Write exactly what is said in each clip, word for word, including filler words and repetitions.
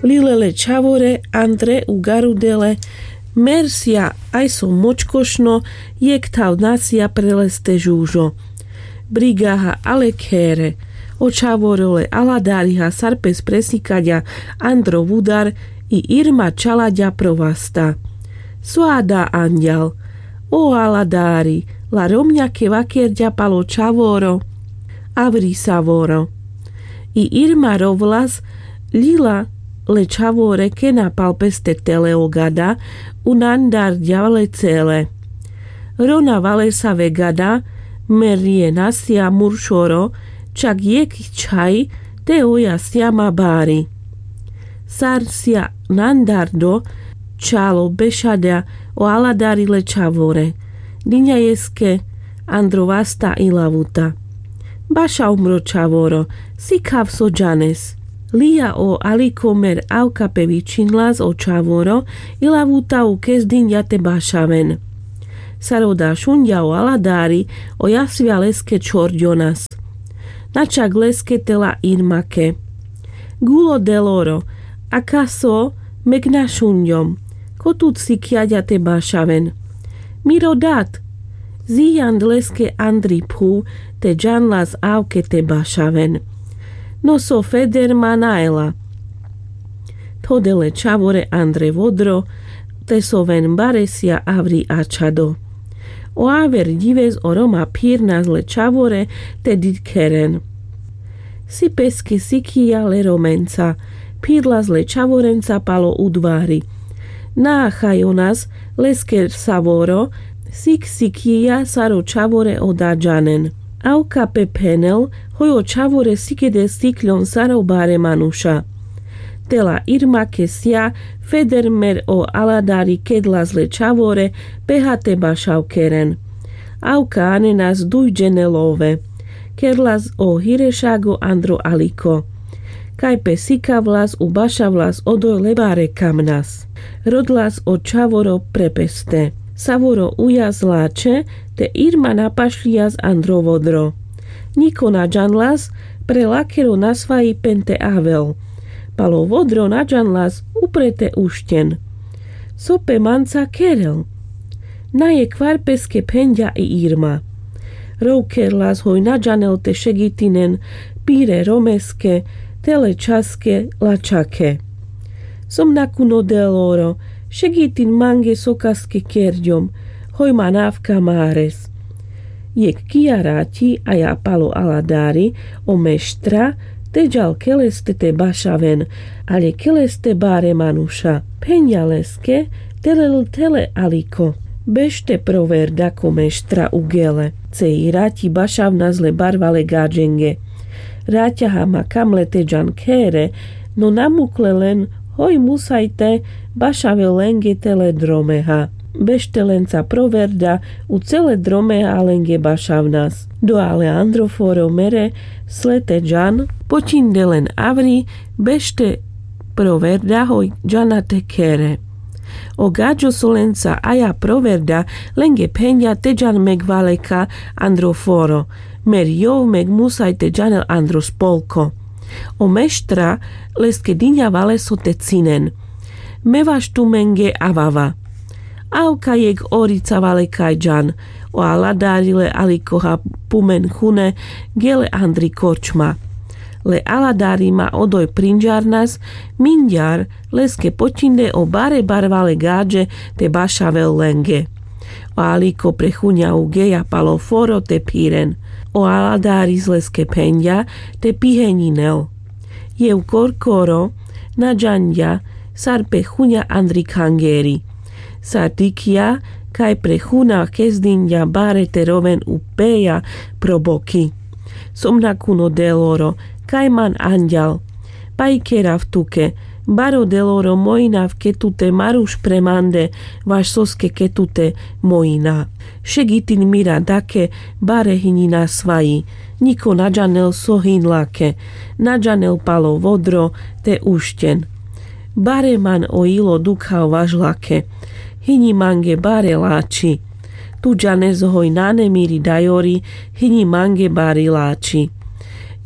Lile le čhavore andre ugarudele. Mer sija aj so močkošno. Jekh thav nasia pre leste žužo. Brigaha ale khere. O čhavoro le aladariha sar pes presikaďa andro vudar. I irma čalaďa pro vasta. So ada anďal? O aladari, la romňa ke vakerďa palo čhavoro. Avri savoro. I irma rovlas. Lila le čhavore kena pal peste tele o gada. U nandarďa le cele. Rona valesave gada. Mer rie nasia muršoro. Čak jekh čhaj. Te oja sija ma bari. Sar sija nandardo. Čalo bešaďa o aladari le čhavore. Diňa jeske andro vasta i lavuta. Bašav mro čhavoro. Sikhav so džanes. Lija o aliko mer avka pe vičhinlas o čhavoro. I lavuta u kes diňa te bašaven. Sar oda šunďa o aladari. O jasvja leske čhorďonas. Na čak leske te la irmake. Gulo deloro. Akaso? Meg na šunďom. Ko tut sikjaďa te bašaven? Miro dat. Zijand leske andri phuv. Te džanlas avke te bašaven. No so feder ma na ela. Thodele čhavore andre vodro. Te so ven baresja avri ačhado. O aver ďives o roma phirnas le čhavore. Te dikheren. Si peske sikhija le romenca. Phirlas le čhavorenca palo udvari. Na achajonas. Leske savoro. Sikh sikhija sar o čhavore oda džanen. Avka pe phenel. Hoj o čhavore sikede sikhľom sar o bare manuša. Tela irma ke sija. Feder mer o aladari kedlas le čhavore. Peha te bašav keren. Avka anenas duj džene love. Kerlas o hirešago andro aliko. Kaj pe sikavlas u bašavlas odoj le bare kamnas. Rodlas o čhavoro pre peste. Savoro ujas lačhe. Te irma napašľijas andro vodro. Ňiko na džanlas. Pre lakero nasvaji pen te avel. Palo vodro na džanlas. Upre te ušťen. So pe manca kerel? Na jekh kvar peske phenďa i irma. Rov kerlas hoj na džanel te šegitinen. Pire romeske. Tele čhaske lačhake. Som nakuno deloro. Šegitin mange sokaske kerďom. Hoj man avka mares. Jekh kija raťi aja palo aladari. O meštra. Te džal keleste te bašaven. Ale keleste bare manuša. Phenďa leske. Tele l tele aliko. Bešte proverda ko meštra u gele. Cej raťi bašavnas le barvale gaďenge. Raťaha ma kamle te džan khere. No namukle len. Hoj musaj te bašavel lenge tele dromeha. Bešte lenca proverda. U cele dromeha lenge bašavnas. Doa le andro foro mere sle te džan. Poćinde len avri. Bešte proverda hoj džana te khere. O gaďo so lenca aja proverda lenge phenďa te džan meg valeka andro foro. Mer jov meg musaj te džanel andro spolko. O meštra leske diňa valeso te cinen. Me vaš tumenge avava. Avka jekh orica valekaj džan. O aladari le alikoha pumen hune gele andri korčma. Le aladari ma odoj prinďarnas. Minďar leske poćinde o bare barvale gaďe te bašavel lenge. O aliko pre huňa ugeja palo foro te phiren. O aladaris leske phenďa te piheňinel. Jev korkoro na džanďa sar pe huňa andri khangeri. Sar dikhľa kaj pre huna kezdinďa bare te roven upeja pro boki. Som nakuno deloro kaj man anďal. Pajkerav tuke. Baro deloro mojinav ke tute maruš pre mande vaš soske ke tute mojina. Šegitin mira dake bare hiňi nasvaji. Ňiko na džanel so hiňlake. Na džanel palo vodro te ušťen. Bare man o ilo dukhav vaš lake. Hiňi mange bare lači. Tu džanes hoj nane miri dajori. Hiňi mange bari lači.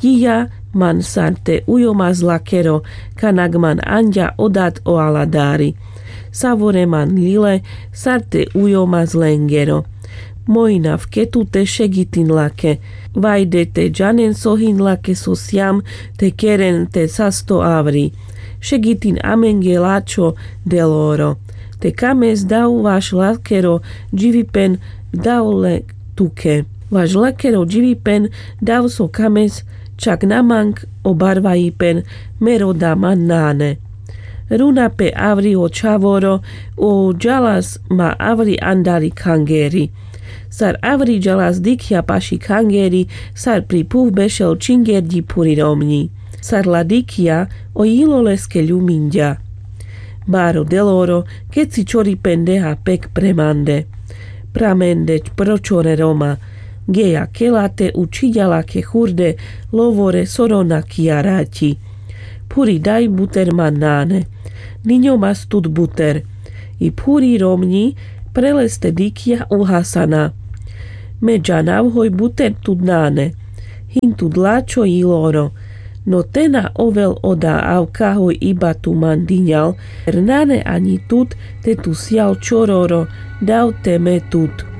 Jija Man sar te ujo mazlakero, kanak man anďa o dat o aladari. Savore man lile, sar te ujo mazlengero. Moj nav ke tute šegitin lake. Vajde te džanen so hin lake so sijam te keren te sasto avri. Šegitin amenge lačho deloro. Te kames dav vaš lakero dživipen dav le tuke. Vaš lakero dživipen dav so kames čak na mang o barvajipen me roda man nane. Runa pe avri o čhavoro, o džalas ma avri andari khangeri. Sar avri džalas dikhja paši khangeri, sar pri phuv bešel čingerďi phuri romňi. Sar la dikhja, o jilo leske ljuminďa. Baro deloro, keci čoripen deha pek pre mande. Pramende pročore roma. Geja kela te učhiďa lake hurde, lovore so rona kija raťi. Phuri daj buter man nane. Niňo mas tut buter. I phuri romňi pre leste dikhja uhasana. Me džanav hoj buter tut nane. Hin tut lačho jiloro. No te na ovel oda avka hoj iba tu man diňal, nane aňi tut te tu sijal čororo, dav te me tut.